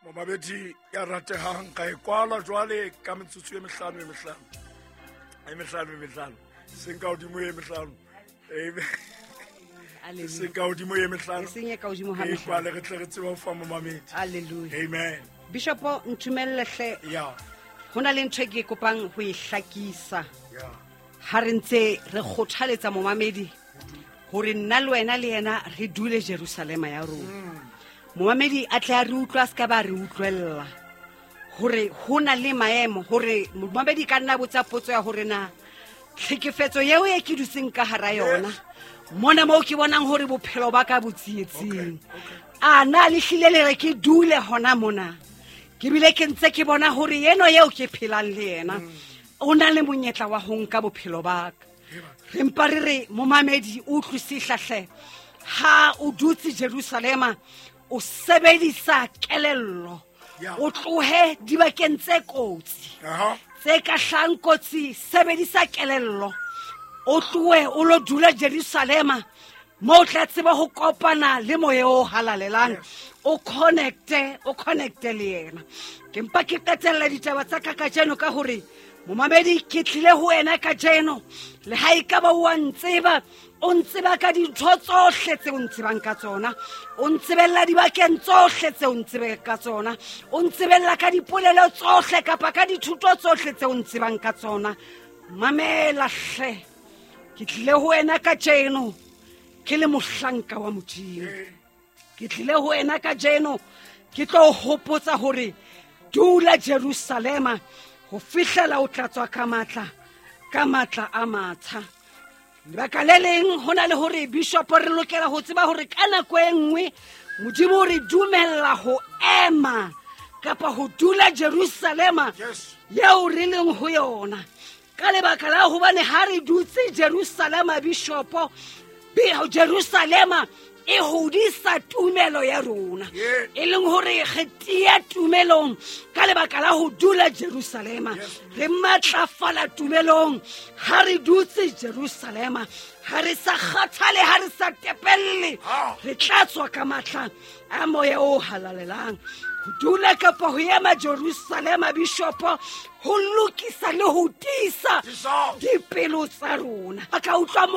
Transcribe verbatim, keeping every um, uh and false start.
Momamedi ya ratehang, ka e kwala jwale ka metsotso e mehlano e mehlano e mehlano e mehlano, seng ka hodimo e mehlano. Amen. Seng ka hodimo e mehlano. E seng e ka hodimo ha E mehlano. kwale re tle re tsebe ho fa momamedi. Hallelujah. Amen. Bishopo, ntumelle hle. Ya. Ho na le ntho e ke kopang ho e hlakisa. Ya. Ha re ntse re kgothaletsa momamedi hore nna le wena le yena re dule Jerusalema ya rona. Momamedi a tle a re utlwe, a se ka ba re utlwella hore ho na le maemo, hore momamedi ka nna botsa potso ya hore na tlhekefetso eo e ke dutseng ka hara yona mona moo ke bonang hore bophelo ba ka bo tsietsing, a na le hlile le re ke dule hona mona, ke bile ke ntse ke bona hore eno eo ke phelang le yena o na le monyetla wa ho nka bophelo ba ka. Re mpa re re momamedi o utlwisisa hle, ha o dutse Jerusalema o sebedisa kelello, Ya. o tlohe dibakeng tse kotsi, Aha. tse ka hlahang kotsi, sebedisa kelello, o tlohe o lo dula Jerusalema moo o tla tseba ho kopana le moya o halalelang, o connecte, o connecte le yena. Ke mpa ke qetella ditaba tsa ka kajeno ka hore momamedi ke tlile ho wena kajeno, le ha e ka ba o a ntseba, o ntseba ka dintho tsohle tse o ntsebang ka tsona, o ntsebella dibakeng tsohle tse o ntsebang ka tsona, o ntsebella ka dipolelo tsohle kapa ka dithuto tsohle tse o ntsebang ka tsona. Mamela hle, ke tlile ho wena kajeno ke le mohlanka wa Modimo. Ke tlile ho wena kajeno ke tlo o hopotsa hore dula Jerusalema ho fihlela o tla tswa ka matla, ka matla a matjha. Lebaka le leng ho na le hore bishop re lokela ho tseba hore ka nako e nngwe Modimo o re dumella ho ema kapa ho dula Jerusalema Yes. eo re leng ho yona. Ka lebaka la hobane ha re dutse Jerusalema, bishopo, be-, Jerusalema e hodisa tumelo ya rona. Yeah. E leng hore re tiya tumelong ka lebaka la ho dula Jerusalema. Yes. Re matlafala tumelong ha re dutse Jerusalema. Ha re sa kgathale, ha re sa tepelle, Ah. re tla tswa ka matla a moya o halalelang. Ho dula kapa ho ema Jerusalema, bishopo, ho lokisa le ho tiisa Tiisa. dipelo tsa rona. A ka utlwa